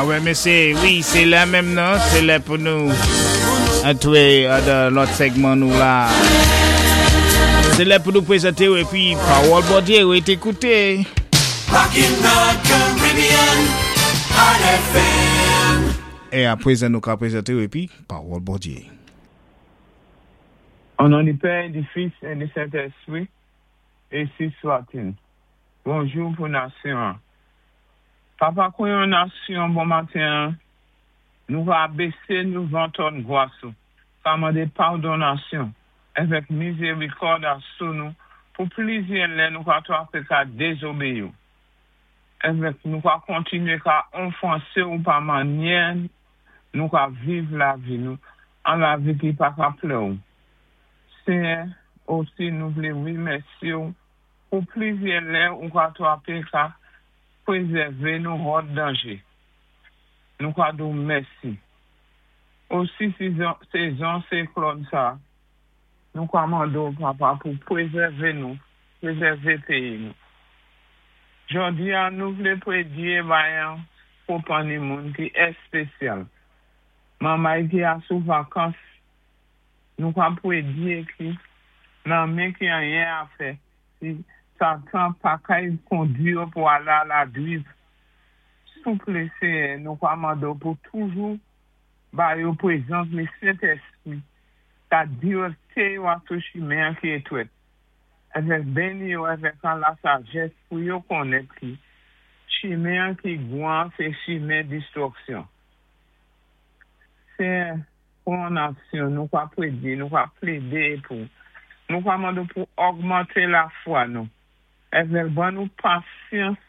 Ah wè mesyé, wi sé lè menm nan, sé lè pou nou antré dan lòt sègman nou la. Sé lè pou nou pwézanté ou épi pawòl Bondyé rété kouté. Rockin' the Caribbean, Heart FM. É apwézan nou ka pwézanté ou épi pawòl Bondyé. O non di Pè, di Fis, é di Sentèspri, ensi swatil. Bonjou pou nasyon an. Papa kou yon nasyon bon maten an, nou va bese nou van twòn gwas ou, ka mande padon nasyon, avèk mizerikòd asou nou pou plizyè lè nou ka twape ka dezobeyi ou. Avèk nou ka kontinye ka onfanse ou pa manyè nou ka viv lavi nou an lavi ki pa ka plè ou. Senyè, osi nou vle remèsye ou pou plizyè lè ou ka twape ka prezève nou hòt danje. Nou ka di w mèsi. Osi sezon siklòn sa, nou ka mande w papa pou prezève nou, prezève peyi nou. Jodi a nou vle predye bay an konpanni moun ki espesyal. Manmay ki a sou vakans Nou ka pwedye ki nan men ki anyen afè si satan pa kay kondwi yo pou ale a la driv souple seyè nou ka mande w pou toujou ba yo prezans le sentespri ka direkte yo a sou chimen an ki etwèt avèk beni yo avèk an la sajès pou yo konnèt ki chimen an ki gwan se chimen distwòksyon seyè. Pou yon nasyon, nou ka predi, nou ka plede pou. Nou ka mande w pou ògmante lafwa nou. Èvèk ban nou pasyans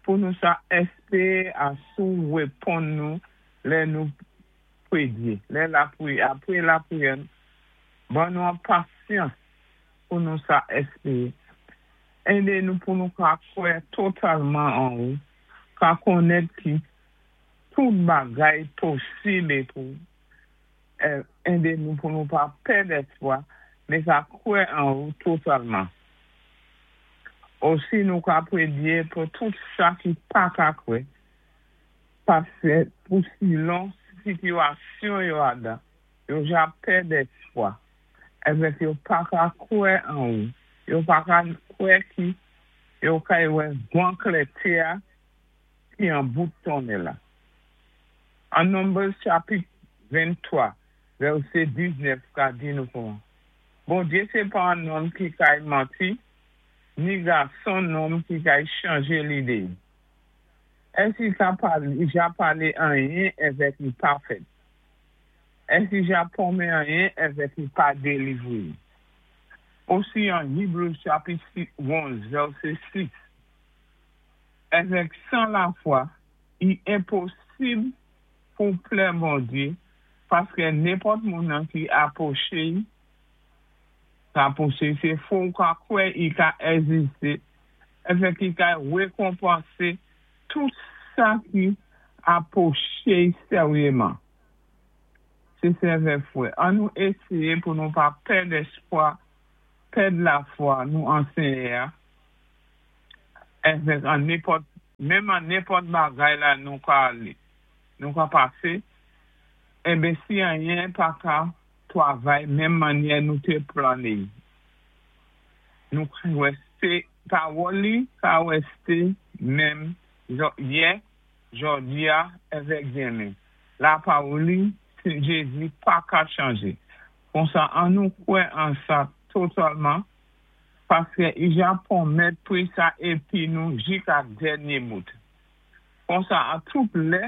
pou nou sa espere asou w reponn nou lè nou predi, lè lapri, apre lapriyè nou. Ban nou an pasyans pou nou sa espere. Ede nou pou nou ka kwè totalman an ou, ka konnèt ki. Tout bagay posib e pou ede nou pou nou pa pèd espwa, men ka kwè an ou totalman. Osi nou ka predye pou tout sa ki pa ka kwè, paske pou silon sitiyasyon yo adan, yo ja pèd espwa, evèk yo pa ka kwè an ou, yo pa ka kwè ki yo kay wè gwan klète a ki an bout tonnè la. An Numbers chapit 23 vèsé 19 ka di nou kouman Bondye sé pa an nonm ki kay manti, ni gason nonm ki kay chanje lide i. Ès i ka pale, i ja pale anyen èvèk i pa fèt? Ès i ja pwonmen anyen èvèk i pa delivre i? Osi an Hebrews chapit 11 vèsé 6. Avèk san lafwa, i enposib pou w plè Bondye, paskè nenpòt moun nan ki apwoche i, ka pwoche se fò w ka kwè i ka èziste, avèk i ka rekonpanse tout sa ki apwoche i seryeman. Se sèvè frè, an nou eseye pou nou pa pèd espwa, pèd lafwa nou an Senyè a. Avèk an nenpòt, menm an nenpòt bagay la nou ka ale, nou ka pase, enben si anyen pa ka twavay menm mannyè nou te plane y, nou ka rèste, pawòl li ka rèste menm yè, jòdi a, avèk demen. Lapawòl li, se Jezi, pa ka chanje. Konsa an nou kwè an sa totalman. Paskè ija pwomèt pri sa epi nou jika dènye bout. Konsa a tout lè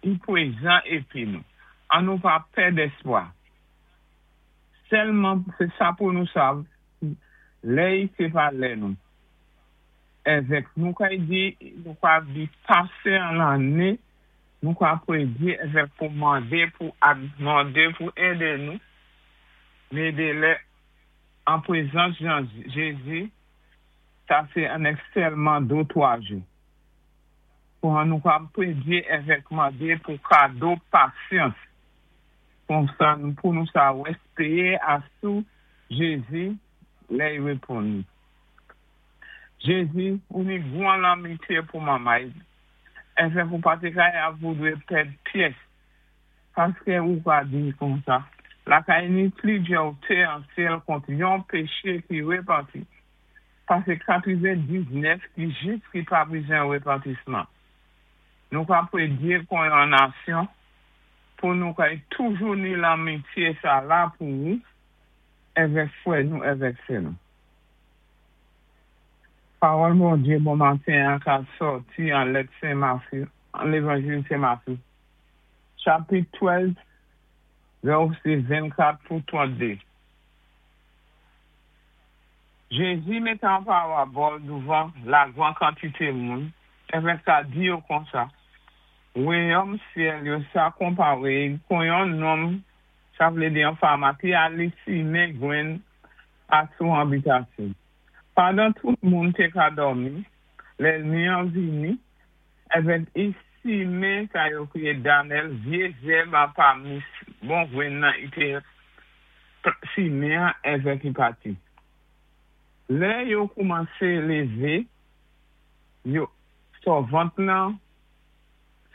i pwezan epi nou. An nou pa pèd espwa. Sèlman se sa pou nou sav lè i se pa lè nou. Evèk nou kay di nou ka di pase an lane nou ka predi evèk pou mande pou ak mande pou ede nou mede lè An prezans Jan Jezi, sa se annèk sèlman do twa jou. Pou an nou kab predye evèk mande pou kado pasyans, konsa nou pou nou sa wès peye a sou Jezi lè y reponn nou. Jezi, ou ni gwan lanmitye pou manmay. Èvèk ou pa té kay ap voudwé pèd pyès. Paskè ou ka di konsa, Lakay ni plizyè té an syèl kont yon péché ki répanti, pasé 99 ki jis ki pa bizwen répantisman. Nou ka prédyé kon yon nasyon pou nou kay toujou ni lanmityé sa la pou ou èvèk frè nou èvèk sè nou. Pawòl Bondyé bon maten an ka sòti an lèt Sen Matthew, an Lévanjil Sen Matthew, chapit 12, vèsé 24 pou 32. Jézi mété an parabòl douvan lagran kantité moun, èvèk ka di yo konsa, Wayòm syèl yo sa konparé kon yon nonm, sa vlé di yon fama ki alé simen gwenn asou abitasyon. Pandan tout moun té ka dòmi, lèlmi an vini, èvèk i simen sa yo kéyé danèl vyé zèb an pami bon gwenn nan i té simen an èvèk i pati. Lè yo koumansé lévé, yo sòvant lan,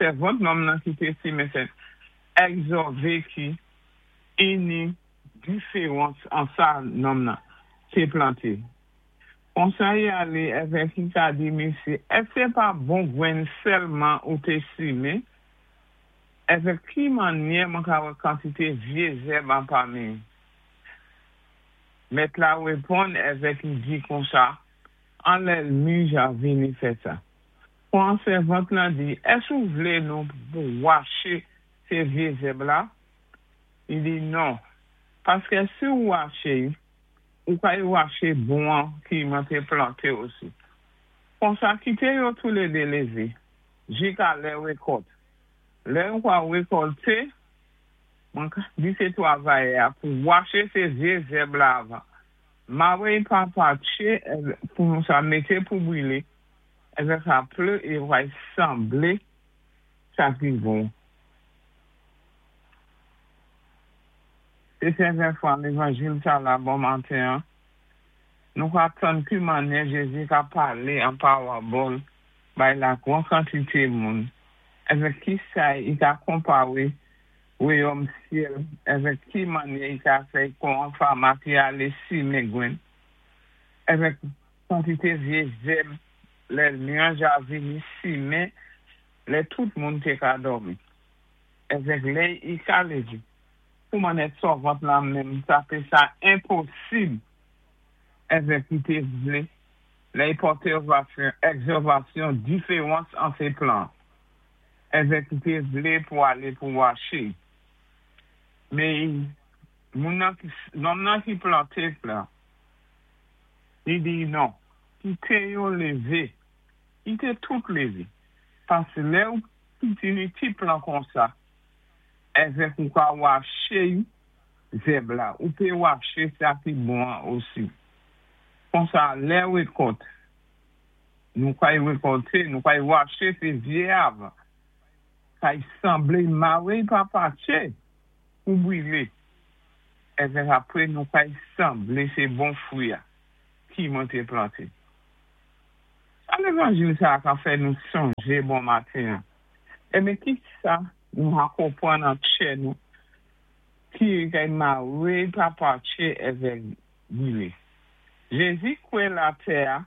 sèvant nonm nan ki té simen sè ègzòvé ki ini diféwans an sa nonm nan té planté. Konsa i alé èvèk i ka di misyé, èské pa bon gwenn sèlman ou té simen? Èvèk ki mannyè mwen ka wè kantité vyé zèb an pami? Mèt la réponn èvèk i di konsa, An lèlmi ja vini fè sa. Kon sèvant lan di, Èske ou vlé nou pou waché sé vyé zèb la? I di, Non, paskè si ou waché y, ou kay waché bon an ki mwen té planté osi. Konsa kité yo toulédé lévé, jika lè rékòlt. Lè yo pral rékòlté, mwen ka di sé twavayè a pou waché sé vyé zèb la avan. Mare y pa patché pou nou sa mété pou brilé, èvèk sa ple e yo pral sanblé sa ki bon. Sé sèvè fwa lévanjil sa la bon maten an, nou ka tann ki mannyè Jézi ka palé an pawabòl bay lagran kantité moun, èvèk ki sa i ka konpawé wéyòm syèl, èvèk ki mannyè i ka fè kon an fama ki alé simen gwenn, èvèk kantité vyé zèb lèlmi an ja vini simen lè tout moun té ka dòmi, èvèk lè i ka lévé. Kouman nèt sòvant la menm sa fè sa enposib èvèk i té vlé lè i pòté ègzòvasyon diféwans an sé plan èvèk i té vlé pou alé pou waché. Mé moun nan ki nonm nan ki planté plan li di non, kité yo lévé, kité tout lévé, paské lè ou pitini ti plan konsa èvèk ou ka waché zèb la, ou pé waché sa ki bon an osi. Konsa lè rékòlt, nou kay rékòlté, nou kay waché sé vyé avan, kay sanblé mawé pa patché pou brilé, èvèk apré nou kay sanblé sé bon fwi a ki mwen té planté. Sa lévanjil sa a ka fè nou sonjé bon maten an? Enben kisa nou ka konprann an tchè nou ki kay mawé pa patché èvèk brilé? Jézi kwé latè a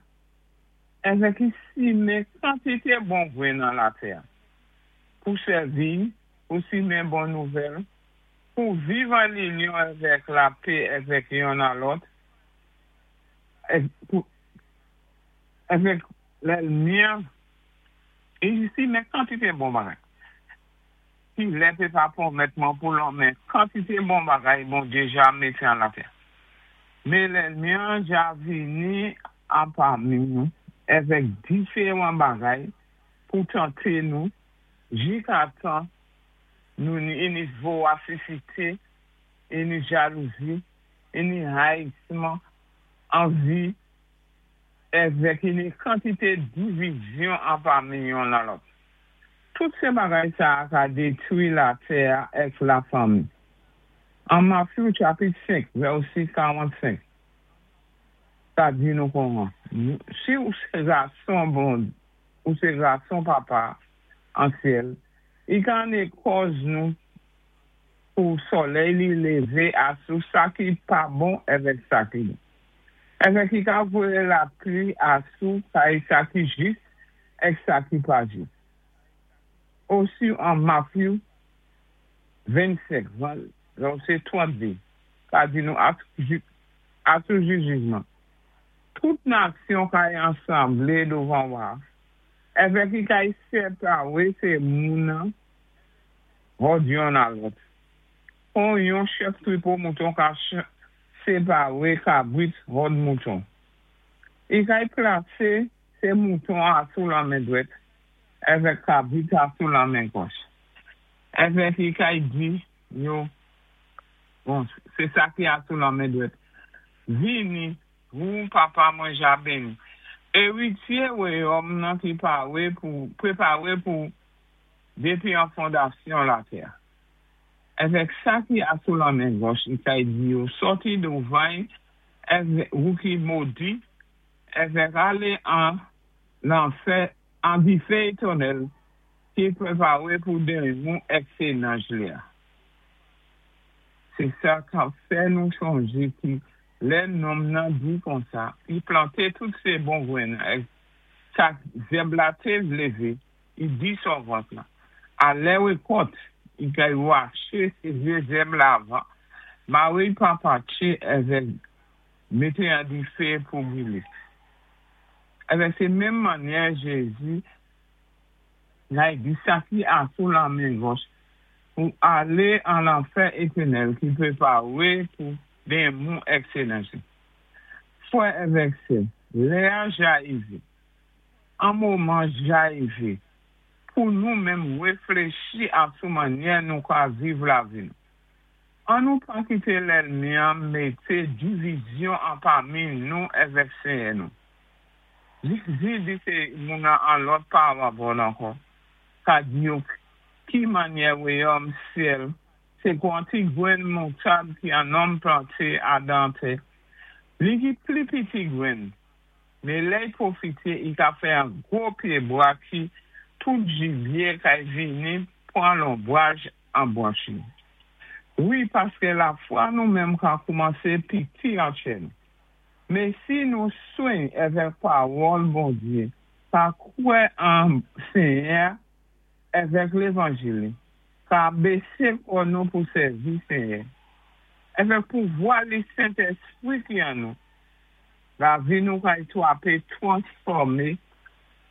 èvèk i simen kantité bon gwenn an latè a pou sèvi, pou simen bon nouvèl, pou viv an linyon èvèk lapé èvèk yonn a lòt, èvèk lèlmi an. I simen kantité bon bagay. Ki lè pé pa pwomèt mwen pou lonmen kantité bon bagay Bondyé ja mété an latè. Mé lèlmi an ja vini anpami nou èvèk diféwan bagay pou tanté nou jikatan nou ni ini vowasisité, ini jalouzi, ini hayisman, anvi, èvèk ini kantité divizyon anpami yonn a lòt. Tout sé bagay sa a ka détwi latè a èk lafanmi. An Matthew chapit 5 vèsé 45 sa di nou konwan, Si ou sé gason bon, ou sé gason papa a. An syèl, i ka anné kòz nou pou solèy li lévé asou sa ki pa bon èvèk sa ki bon. Èvèk i ka voyé lapli asou kay sa ki jis èk sa ki pa jis. Osi an Matthew 25, vèsé 32, ka di nou asou jou jijman, tout nasyon kay ansanblé douvan Wa, èvèk i kay sépawé sé moun hòd yonn a lòt. Kon yon chèf twipò mouton ka séparé kabrit hòd mouton. I kay plasé sé mouton asou lanmen dwèt èvèk kabrit asou lanmen gòch. Èvèk i kay di yo, bon, sé sa ki asou lanmen dwèt, Vini, wou Papa mwen ja béni, éritié wayòm nan ki paré pou préparé pou dépi an fondasyon latè. Èvèk sa ki asou lanmen gòch i kay di yo, Sòti douvan-y, èvèk wou ki modi, èvèk alé an lanfè, an difé étènèl ki préparé pou denmon èk sé nanj li-a. Sé sa k-ap fè nou chonjé ki lè nonm nan di konsa, i planté tout sé bon gwenn èk sa zèb la té lévé, i di sòvant la, A lè wékòt, i kay waché sé vyé zèb la avan, maré-y pa patché èvèk mété an difé pou bwilé. Èvèk sé menm mannyè Jézi kay di sa ki asou lanmen gòch pou alé an lanfè étènèl ki préparé pou denmon èk sé nanj li. Fwè èvèk sè, lè-a ja ivé. An moman ja ivé pou nou menm wéfléchi asou mannyè nou ka viv lavi nou. An nou pa kité lèlmi-an mété divizyon anpami nou èvèk Senyè nou. Jézi di sé moun an lòt parabòl ankò ka di yo ki mannyè wéyòm syèl sé kon an ti gwenn moutad ki an nonm planté adan tè. Li ki pli piti gwenn, Men lè y pwofite, i ka fè an gwo pye bwa ki tout jibye kay vini pran lonbraj an branch li. Wi, paske lafwa nou menm ka koumanse piti an chè nou. Men si nou sweny èvèk pawòl Bondye, ka kwè an Senyè a èvèk levanjil li, ka bese kò nou pou sèvi Senyè, èvèk pouvwa li Sentespri ki an nou, Lavi nou kay twape transfòme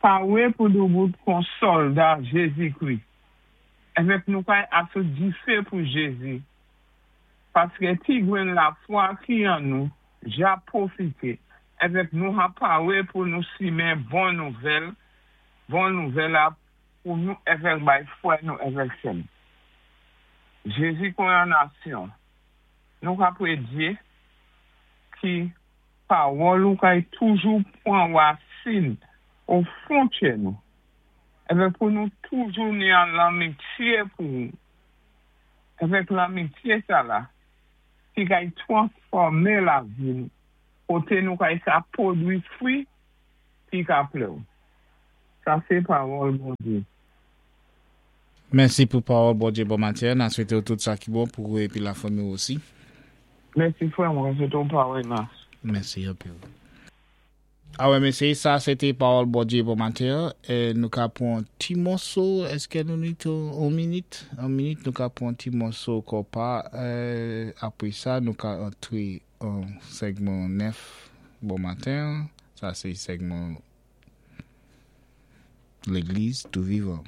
pare pou doubout kon sòlda Jezikri èvèk nou kay asou dife pou Jezi paske ti grenn lafwa ki an nou ja pwofite èvèk nou ha pare pou nou simen bon nouvèl bon nouvèl la pou nou èvèk bay frè nou èvèk sè nou Jezi kon yon nasyon nou ka predye ki pawòl ou kay toujou pwan wasin o fon kè nou, èvèk pou nou toujou ni an lanmitye pou ou, èvèk lanmitye sa la ki kay transfòme lavi nou, kote nou kay sa pwodwi fwi ki ka plè ou. Sa se pawòl Bondye. Mèsi pou pawòl Bondye bon maten an, na swete w tout sa ki bon pou ou epi la fanmi w osi. Mèsi frè mwen swete w parèyman. Mèsi anpil. Awè mesye sa se te pawòl Bondye bon maten an, nou ka pran yon ti mòso eske nou nit yon minit, yon minit nou ka pran yon ti mòso konpa apre sa nou ka antre an segman 9 bon maten an, sa se segman Legliz tou vivan.